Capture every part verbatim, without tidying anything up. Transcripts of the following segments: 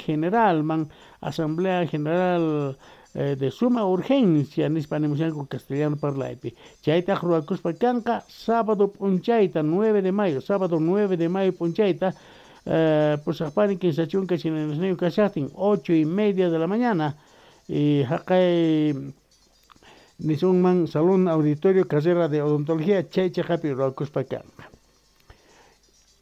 Generalman, Asamblea General eh, de suma urgencia nispa nimushanku castellano parlaypi. Chaytaq ruwakuspa kanqa sábado p'unchayta nueve de mayo, sábado nueve de mayo p'unchayta eh, pusaqpani kinsa chunka chinanasniyuq kashaqtin ocho y media de la mañana y haqay nisunman Salón Auditorio Carrera de Odontología chay chaqapi ruwakuspa kanqa.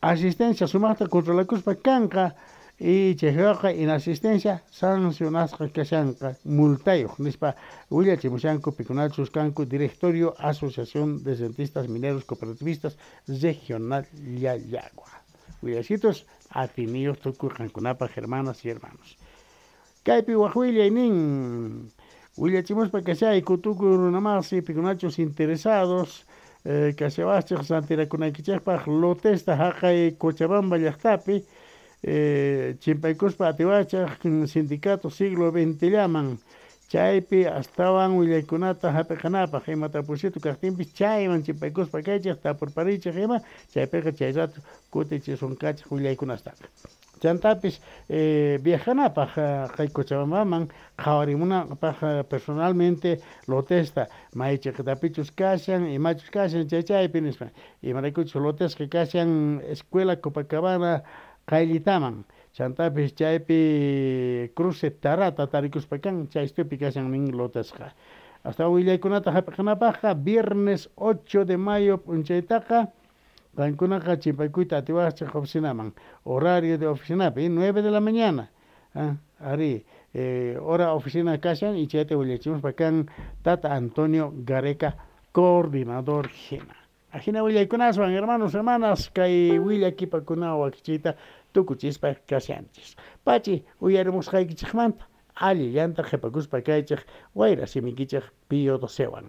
Asistencia sumaqta controlakuspa kanqa y chayqa inasistencia sancionasqa kashanqa multayuq nispa willachimushanku pikunachus kanku Directorio Asociación de Dentistas Mineros Cooperativistas Regional Llallagua. Willasitos atiniyuq tukuy qankunapaq hermanas y hermanos. Kaypi waj willay nin willachimuspa kashayku tukuy runamasi pikunachus interesados eh, kashawachej rantirakunaykichejpaj lotesta haqay Cochabamba llaqtapi eh, chimpaykuspa atiwachaj sindicato siglo veinte llaman chaypi astawan willaykunata hap'iqanapaj ima tapusitu kaqtinpis chayman chimpaykuspa kaychej tapurparichej ima chaypiqa chay rato kutichisunqachej willaykunastaqa. Chantapis eh, viajanapaj qay Cochabambaman qhawarimunapaj personalmente lotesta may chiqitapichus kashan imachus kashan chay chaypi nispa imaraykuchus lotesqa kashan Escuela Copacabana qayllitaman chantapis chaypi cruce Tarata tarikuspa kan chay stupi kashan nin lotesqa. Hasta willaykunata hap'iqanapaqqa viernes ocho de mayo p'unchaytaqa qankunaqa chimpaykuyta atiwaqchej oficinaman horario de oficinapi nueve de la mañana ah, ari eh, hora oficina kashan y chayta willachimuspa kan tata Antonio Gareca coordinador jina. Ajina willaykunaswan hermanos hermanas kay willakipakuna wakichiyta tukuchispa kashanchis. Pachi uyarimusqaykichejmanta allillanta qhipakuspa kaychej wayra simikichej Pío docewan.